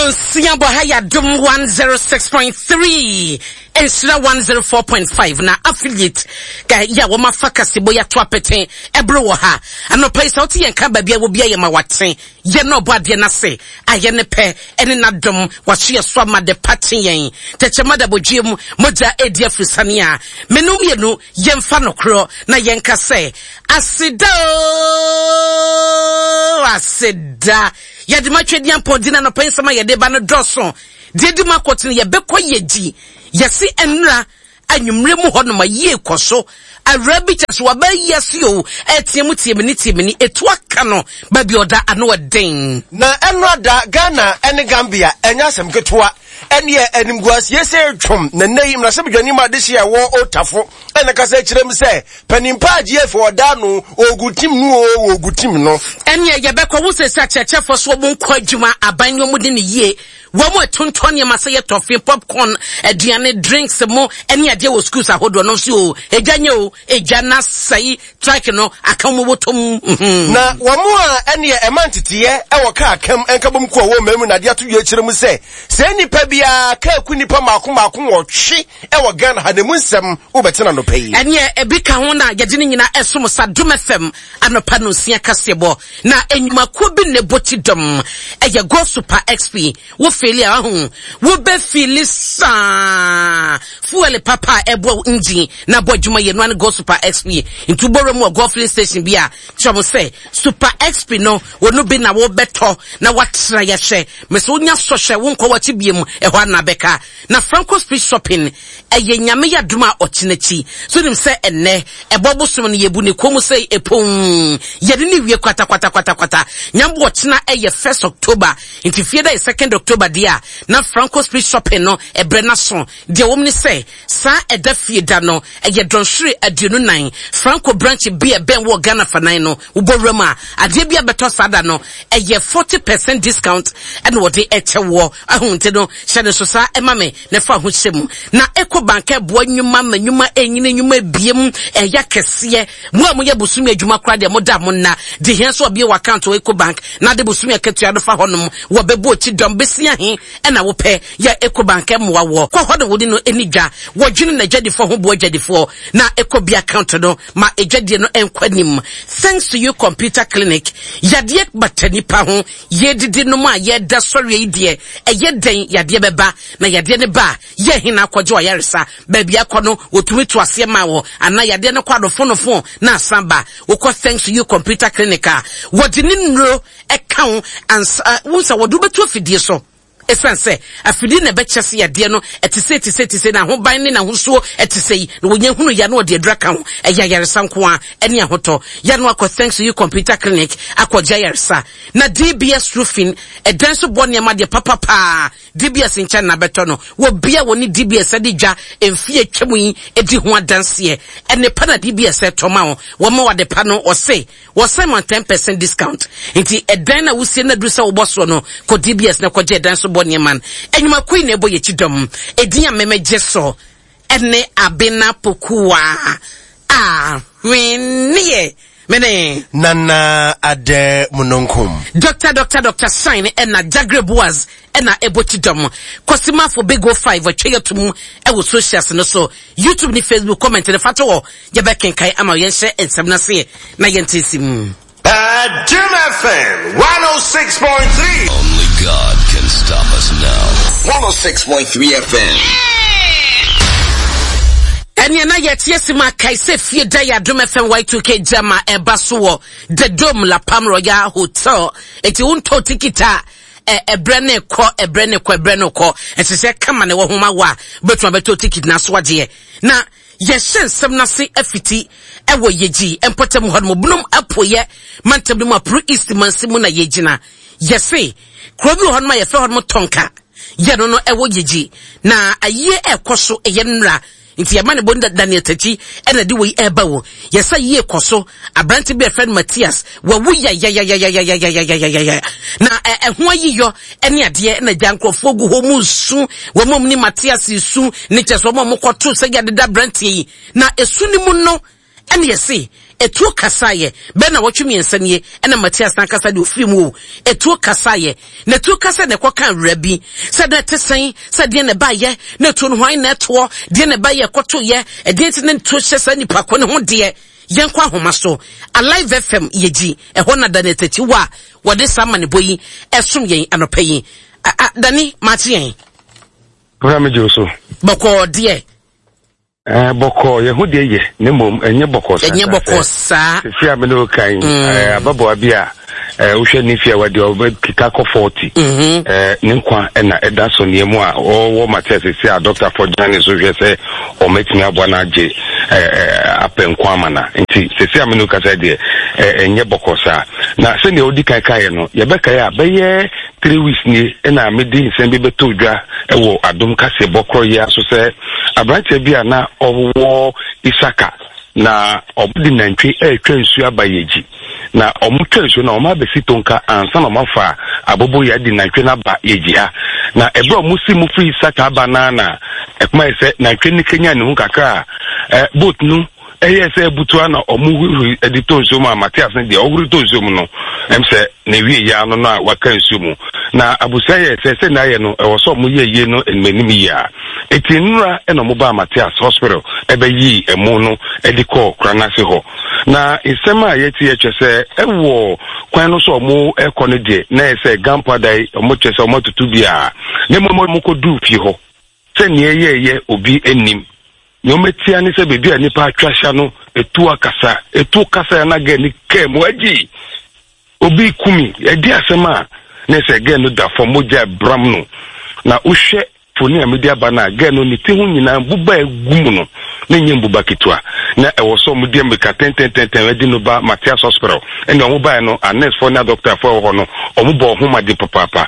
Nonsia bɔ ha yɛ Adom 106.3 Nhyira 104.5 na affiliate ka yɛ a wɔn afa kasebo yɛ ato apete ɛboro wɔ ha anɔpa yi sɛ wote yɛn ka baabi a wɔ bia yɛ ma wate yɛ na ɔbɔ adeɛ n'ase ayɛ ne pɛ ɛne n'adom waso yɛ so ama de pa kye yɛn tɛkyɛma da bɔdwe mu mogya edi afurisane a menu mmienu Yɛmfa nokorɔ na yɛnka sɛ, Aseda oo, aseda. Yɛde ma Twedeampɔn din anɔpa yi nsɛm a yɛde ba no dɔɔso. Deɛ edi mu akɔtene yɛbɛkɔ yɛgyi. Yɛse ɛnora anwummerɛ mu hɔ nom ayie kɔ so. Awuraa bi kyɛ so waba ayi ase o, ɛteɛ mu tie mene tie mene, etu aka no baabi ɔda ano ɛden. Na ɛnora da Ghana ne Gambia ɛnyɛ asɛm ketewa. Ɛneɛ animguaseɛ sɛ twom na nnɛ yi mmarahyɛbadwani ma adehye a ɛwɔ Otafo ɛna kasa kyerɛ mu sɛ panin pa a GF ɔda no ɔgu tim no o ɔgu tim no. Ɛneɛ yɛbɛkɔ wo sɛ sɛ akyerɛkyerɛfoɔ so wɔn nkɔ adwuma aban ne wɔn di ne yie wɔn ɛtontɔn nneɛma sɛ yɛ tɔfe popcorn aduane drinks mo ɛne adeɛ wɔ schools ahodoɔ no nso o edwa nyɛ o edwa na sɛe Trike no aka wɔn bɔtɔ mu. Mhm. Na wɔn a ɛneɛ ɛma nteteɛ wɔ kaa kam nkabom kuo a wɔwɔ mmamu na adeɛ ato dwa akyerɛ mu sɛ sɛ nnipa biara kaa ku nnipa mmaako mmaako nwɔtwe wɔ Ghana ha na emu nsɛm wobɛte no anɔpa yi. Ɛneɛ ebi ka ho na yɛde ne nyinaa ɛsom sa Dom FM anɔpa nonsia kaseɛbɔ na nnwumakuo bi na ɛbɔ ti dɔm ɛyɛ Go Super XP Wo feeli a wahu wo bɛ feeli saa. Fuel papa a ɛboa wo engine na abɔ adwuma yɛ no ne Go Super XP. Nti wobɔ wura mu wɔ Go filling station bi a kyerɛ wɔn sɛ Super XP no wɔn no bi na wɔbɛtɔ na watra yɛhwɛ. Mese wonya sɔhwɛ wonkɔ wakyi biem ɛhɔ ana bɛka. Na Franco Street Shopping ɛyɛ Nyame yɛ adom a ɔkyena akyi. So nim sɛ ɛnnɛ ɛbɔ bosom no yɛbu ne kɔn mu sɛ ɛpon yɛde ne wie kwata kwata kwata kwata. Nyambo ɔkyena ɛyɛ first October Nti fie da yɛ second October deɛ a, na Franco Street Shopping no ɛberɛ no aso. Deɛ ɛwɔ mu ne sɛ, saa ɛda fie da no, ɛyɛ dɔnhwere 24. Franco branch bi a ɛbɛn wo wɔ Ghana fanan no, wobɔ wura mu a, adeɛ bi a bɛtɔ saa da no, ɛyɛ 40 percent discount ɛna wɔde ɛkyɛ woɔ. Ahu nti no, hyɛ no nso saa ɛma me na fa ho hyɛ mu. Na Ecobank ɛboa nnwuma ma nnwuma ɛnyini, nnwuma ɛbiem, ɛyɛ akɛseɛ. Mo a moyɛ bosome adwuma koraa deɛ moda mo nna. De hia sɛ ɔbie wɔ account wɔ Ecobank na ade bosome akatua no fa hɔnom. Wɔ bɛbɔ akyi dɔm bɛsi ahe ɛna wopɛ yɛ Ecobank mmoa woɔ. Kɔ hɔ na wone no ɛni dwa. Wɔdwene n'adwadifoɔ ho boa adwadifoɔ na ɛkɔ bi account no ma adwadie no nkɔ anim. Thanks to you computer clinic. Yadeɛ bata nipa ho. Yɛdidi nom a yɛda sɔreɛ yi deɛ ɛyɛ dɛn yadeɛ bɛba na yadeɛ no ba a Yɛ he na akɔgye w'ayaresa? Baabi akɔ no, wɔtumi to aseɛ ma wo anaa yadeɛ no kɔ anofonofo na asan ba? Wokɔ Thanks to You Computer Clinic a, wɔde ne nnuro ka wo ansa, wohu sɛ wɔde wo bɛto afidie so. Ɛsiane sɛ afidie na ɛbɛkyɛ sɛ yadeɛ no ɛte sei, te sei, te sei, n'ahoban ne n'ahosuo ɛte sei, na wɔnya hunu yɛ a na wɔde aduro aka ho. Ɛyɛ ayaresa nko ara ɛne ahotɔ. Yɛ no akɔ Thanks to You Computer Clinic akɔgye ayaresa. Na DBS Roofing, ɛdan so bɔ nneɛma deɛ papa paa. DBS nkyɛn na bɛtɔ no. Wɔ bia wɔne DBS adi dwa mfeɛ atwa mu yi di ho adanseɛ. Nnepa na DBS ɛtɔ ma wo. Wɔma wo adepa no, wɔse wɔsan ma 10% discount. Nti ɛdan no a wosie no aduru sɛ wobɔ soɔ no, kɔ DBS na kɔgye ɛdan so bɔ nneɛma no. Nnwumakuo yi na ɛbɔ yɛn akyi dɔm. Edin a memegye so ne Abena Pokuaa Ahweneɛ. Mene. Nana Adɛ Mununkum. Doctor Doctor Doctor Shine ɛna Jagre Boaz ɛna ɛbɔ ti dɔm. Kwasi Mafo Big O 5 atwa yɛ tom ɛwɔ socials no so. YouTube ne Facebook comment no fa to hɔ yɛbɛ kenkan ama yɛnhyɛ nsɛm no aseɛ na yɛnte nsi mu. Adom FM 106.3. Only God can stop us now. 106.3 FM. Ɛneɛ na yɛte asi mu akae sɛ fie da yɛ Adom FM Y2K gyama ɛba so wɔ The Dome La Palm Royal Hotel. Enti wontɔ tikit a ɛbrɛ ne kɔ ɛbrɛ ne kɔ ɛbrɛ ne kɔ ɛsɛ sɛ kama na ɛwɔ ho ma wo a wobɛtumi abɛtɔ tikit na aso agyeɛ na yɛhyɛ nsɛm no ase afiti ɛwɔ yɛgyi mpɔtam hɔ nom binom apueɛ mantam no mu apuru east mansi mu na yɛgyina yɛse kuro bi wɔ hɔ nom a yɛfrɛ hɔ nom tɔnka Yɛ no no ɛwɔ yegyi na ayie ɛkɔ so ɛyɛ nnra nti yɛma ne bɔ Daniel Takyi ɛna de wei ɛba wo yɛsɛ yie kɔ so aberante bi ɛfrɛ no Matias wawu yayayayayayayayayaya na ɛho ayiyɔ ɛne adeɛ ɛna gya nkurɔfoɔ gu hɔ mu nsu wɔn mu ne Matias su ne kyɛ sɛ wɔn a wɔkɔto sɛ yɛadeda aberanteɛ yi na esu ne mu no ɛne yɛse. Etuo kasaeɛ, bɛyɛ nnawɔtwe mmiɛnsa nie ɛna Matias n'ankasa deɛ ɔfiri mu o. Etuo kasaeɛ, na etuo kasaeɛ na ɛkɔkaa awura bi sɛ na ɛte sɛn, sɛ deɛn na ɛbaeɛ, na etuo no hwan na ɛtoɔ, deɛn na ɛbaeɛ ɛkɔtoeɛ, ɛdeɛn nti na etuo hyɛ saa nipa ko ne ho deɛ. Yɛnkɔ ahoma so, Alive FM yɛgyi, ɛhɔ na Daniel Takyi wɔ a wɔde saa amanebɔ yi ɛsom yɛn anɔpa yi. A, a, Dani, maakye yɛn. Wura megye wo so. Bɔkɔɔ deɛ. Ɛɛ bɔkɔɔ yɛn ho deɛ yɛ na mmom ɛnyɛ bɔkɔɔ saa. Ɛnyɛ bɔkɔɔ saa. Sisi a mene kan mm. ɛɛ ababaawa bi a ɛɛ wohwɛ ne fi a wadi ɔbɛkeka kɔ fɔɔti. Mm-hmm. Ɛɛ ne nkwa ɛna ɛda so nea mu a ɔwɔ Matias sisi a dɔkta fɔ gyina ne so hwɛ sɛ ɔmɛtumi aboa no agye ɛɛ apɛ nkwa ama na nti sisi a mene kasa deɛ ɛɛ ɛnyɛ bɔkɔɔ saa na sɛnea odi kan kaeɛ no yɛbɛkae a bɛyɛ 3 weeks nie ɛna mede nsɛm bi bɛtɔ dwa ɛwɔ Adom kaseɛbɔ korɔ yi so sɛ aberanteɛ bi a na ɔwɔ Isaka na ɔde nantwi ɛretwa nsuo aba Yɛgyi na ɔmo twa nsuo na ɔmo abɛsi Tonka ansa na ɔmo afa abobo yɛ adi nantwi no aba Yɛgyi ha. Na ɛberɛ a ɔmo si mu firi Isaka aba naa na ɛkoma yɛ sɛ nantwi no kenya ne ho kakra a boat no ɛyɛ sɛ ebutua na ɔmo hurihuri ɛde tɔ nsuo mu a Matias no deɛ ɔhuri tɔ nsuo mu no sɛ na ewie yia no a waka nsuo mu. Na abusua yɛ sɛ n'ayɛ no ɛwɔ sɛ ɔmo yɛ yie no anim anim yie a eti nnura ɛna ɔmo baa Matias Hospital ɛbɛyi ɛmo no ɛde kɔɔ koranase hɔ. Na nsɛm a yɛte yɛ kyerɛ sɛ ɛwɔ kwan no so ɔmo ɛkɔ no deɛ na yɛ sɛ gampo adan ɔmo kyerɛ sɛ ɔmo atutu bi a na mmom ɔmo kɔ duu fie hɔ sɛ nea ɛyɛ obi anim nea ɔmɛtia ne sɛ beebi a nipa atwa ahyia no etu akasa etu kasa ya na gɛ ne kɛɛ mu agyi obi kumi ɛdi asɛm a ne sɛ gɛ no da fam mogya bram no. Na wohwɛ foni a mede aba no a, gɛ no ne ti ho nyinaa mbuba egu mu no ne nyɛ mbuba ketewa na ɛwɔ sɛ ɔmo de mmirika tɛntɛntɛntɛn ɛde no ba Matias Hospital. Ɛna ɔmo baeɛ no, anɛsfoɔ ne adɔktafoɔ ɛwɔ hɔ no, ɔmo bɔ ɔho ma de papaapa.